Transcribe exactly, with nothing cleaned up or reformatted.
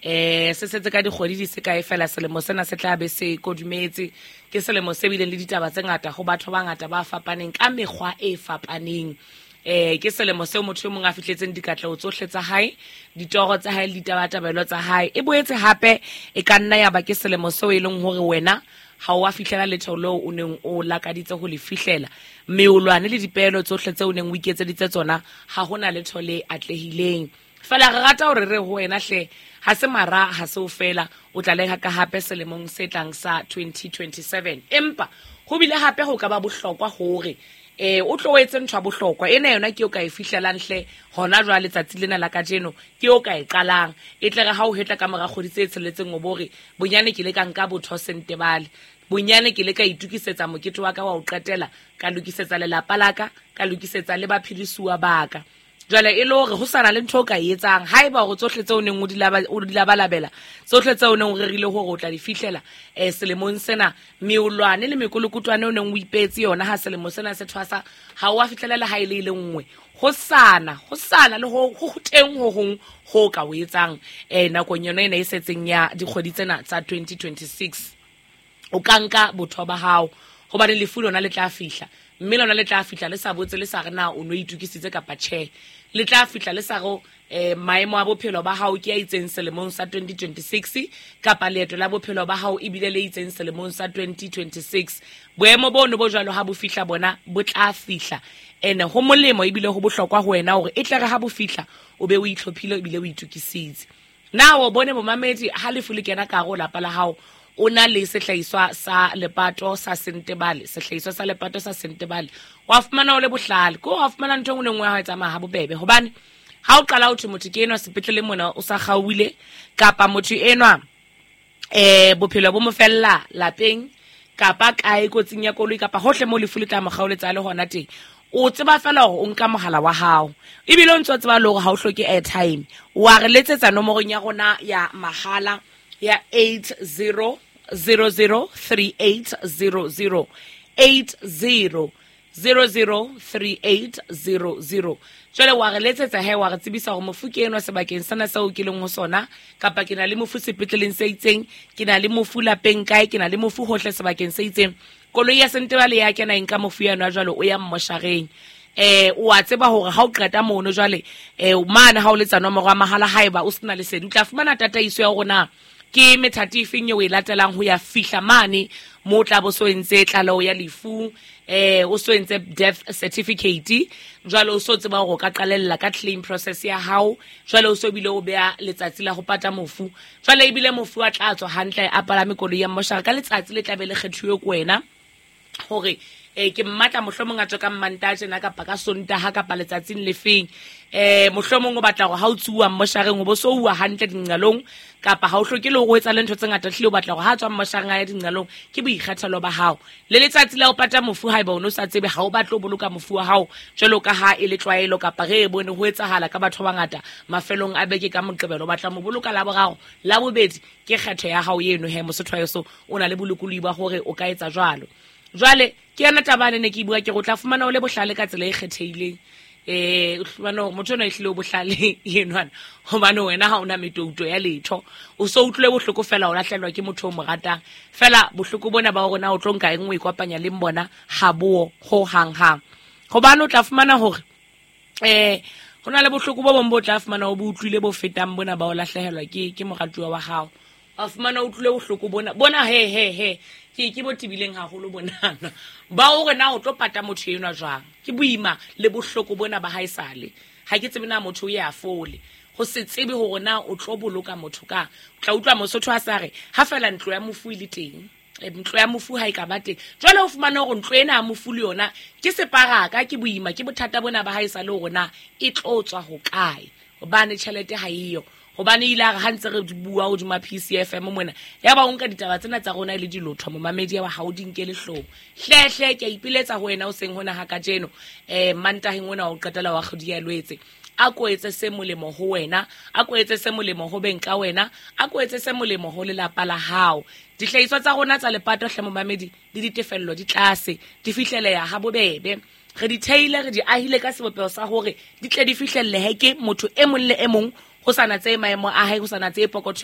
Eh se setse ka dikgwedi di se kae fela selemo sena se tla be se kodumetse. Ke selemo se bileng le ditaba tse ngata ho batho ba bangata ba fapaneng ka mekgwa e fapaneng. Eh ke selemo seo motho e mong a fihletseng dikatleho tsohle tsa hae, ditoro tsa hae le ditabatabelo tsa hae. E boetse hape e ka nna ya ba ke selemo seo e leng hore wena ha o a fihlela letho leo o neng o lakaditse ho le fihlela. Meolwane le dipeelo tsohle tseo o neng o iketseditse tsona ha hona letho le atlehileng. Fela re rata hore re ho wena hle, ha se mara ha se o fela, o tla leka ka hape selemong se tlang sa twenty twenty-seven. Empa ho bile hape ho ka ba bohlokwa hore eh o tlo etse ntho ya bohlokwa ena yona ke o ka e fihlelang hle hona jwale letsatsi lena la kajeno, ke o ka e qalang. E tle re ha o hetla ka mora kgwedi tse tsheletseng o bo re bonyane ke le ka nka botho sentebale, bonyane ke le ka itukisetsa mokete wa ka wa ho qetela, ka lokisetsa lelapa la ka, ka lokisetsa le baphedisuwa ba ka. Jwale e le hore ho sana le ntho o ka e etsang haeba hore tsohle tseo o neng o di laba, o di labalabela, tsohle tseo o neng o rerile hore o tla di fihlela, eh, selemong sena, meolwane le mekolokotwane o neng o ipeetse yona ha selemo sena se thwasa, ha o a fihlela le ha e le e le nngwe. Ho sana, ho sana le ho, ho teng ho hong ho ka o etsang, eh, nakong yona ena e setseng ya dikgwedi tsena tsa twenty twenty-six. O ka nka botho ba hao, hobane lefu lona le tla fihla, mme lona le tla fihla le sa botse le sa re na o no itokisitse kapa tjhe. Le tla fihla le sa re, eh, maemo a bophelo ba hao ke a itseng selemong sa twenty twenty-six, kapa leeto la bophelo ba hao ebile le itseng selemong sa twenty twenty-six. Boemo bono bo jwalo ha bo fihla bona bo tla fihla. Ene ho molemo ebile ho bohlokwa ho wena hore e tle re ha bo fihla o be o itlhophile ebile o itokisitse. Na o bone momamedi ha lefu le kena ka hare ho lapa la hao, o na le sehlahiswa sa lepato sa Sentebale, sehlahiswa sa lepato sa Sentebale, wa fumana o le bohlale, ke wa fumana ntho e nngwe le nngwe ya hao e tsamaya ha bobebe. Hobane ha o qala ho thwe motho ke enwa sepetlele mona o sa kgaohile, kapa motho enwa, eh, bophelo bo mo fella lapeng, kapa kae kotsing ya koloi, kapa hohle moo lefu le tla mo kgaoletsa le hona teng, o tseba fela hore o nka mohala wa hao, ebile o ntso tseba le hore ha o hloke airtime. Wa re letsetsa nomorong ya rona ya mahala ya eight zero zero zero three eight zero zero, eight zero zero zero three eight zero zero. Jwale wa re letsetsa he, wa re tsebisa hore mofu ke enwa sebakeng sena seo ke leng ho sona, kapa ke na le mofu sepetleleng se itseng, ke na le mofu lapeng kae, ke na le mofu hohle sebakeng se itseng. Koloi ya Sentebale ya kena e nka mofu ya nwa jwale o ya mmoshareng. Eh, o a tseba hore ha o qeta mono jwale, eh, mane ha o letsa nomoro ya mahala haeba o sena lesedi, o tla fumana tataiso ya hore na ke methati efeng eo o e latelang ho ya fihla mane moo o tla bo so entse tlaleho ya lefu, eh, o so entse death certificate. Jwale o so tseba hore o ka qalella ka claim process ya hao, jwale o so bile o beha letsatsi la ho pata mofu. Jwale ebile mofu a tla tswa hantle a palame koloi ya mmoshara ka letsatsi le tla be le kgethuwe ke wena hore, eh, ke mmatla mohlomong a tswe ka Mmantaha tjena kapa ka Sontaha kapa letsatsing le feng. Eh, mohlomong o batla hore ha o tsuwa mmoshareng o bo so uwa hantle dinqalong, kapa ha o hloke le hore o etsa le ntho tse ngata, hlile o batla hore ha tswa mmoshareng a ye dinqalong, ke boikgethelo ba hao. Le letsatsi la ho pata mofu haeba o no sa tsebe, ha o batle ho boloka mofu wa hao jwalo ka ha e le tlwaelo kapa re e bone ho etsahala ka batho ba bangata mafelong a beke ka Moqebelo, o batla mo boloka la boraro, la bobedi, ke kgetho ya hao eno he Mosotho wa heso, o na le bolokolohi ba hore o ka etsa jwalo. Jwale ke yona taba ene ne ke bua ke re o tla fumana o le bohlale ka tsela e kgethehileng. Eh, o fumana hore motho enwa ehlile o bohlale enwana, hobane wena ha ona metouto ya letho, o so utlwile bohloko fela o lahlehelwa ke motho o mo ratang. Fela bohloko bona ba hore na o tlo nka eng o ikopanya le bona ha bo ho hang hang. Hobane o tla fumana hore, eh, ho na le bohloko bo bong bo tla fumana o bo utlwile bo fetang bona ba o lahlehelwa ke, ke moratuwa wa hao. Wa fumana o utlwile bohloko bona, bona he, he, he, ke, ke bo tebileng haholo bonana. Ba hore na o tlo pata motho enwa jwang, ke boima le bohloko bona ba haesale. Ha ke tsebe na motho o ya fole, ho se tsebe hore na o tlo boloka motho ka. O tla utlwa Mosotho a sa re ha fela ntlo ya mofu e le teng, eh, ntlo ya mofu ha e ka ba teng. Jwale o fumana hore ntlo ena ya mofu le yona ke separaka, ke boima, ke bothata bona ba haesale hore na e tlo tswa hokae, hobane tjhelete ha eyo. Hobane ile a re ha ntse re bua hodima P C F M mona, ya ba o nka ditaba tsena tsa rona e le dilotho, momamedi ya ba ha o di nkele hloohong. Hle, hle, ke a ipiletsa ho wena o seng hona ha kajeno, eh, Mantaheng ona wa ho qetela wa kgwedi ya Lwetse. A ko etse se molemo ho wena, a ko etse se molemo ho beng ka wena, a ko etse se molemo ho lelapa la hao. Dihlahiswa tsa rona tsa lepato hle momamedi, le ditefello di tlase, di fihleleha ha bobebe. Re di theile, re di ahile ka sebopeho sa hore di tle di fihlellehe ke motho e mong le e mong, ho sa natse maemo a hae, ho sa natse pokotho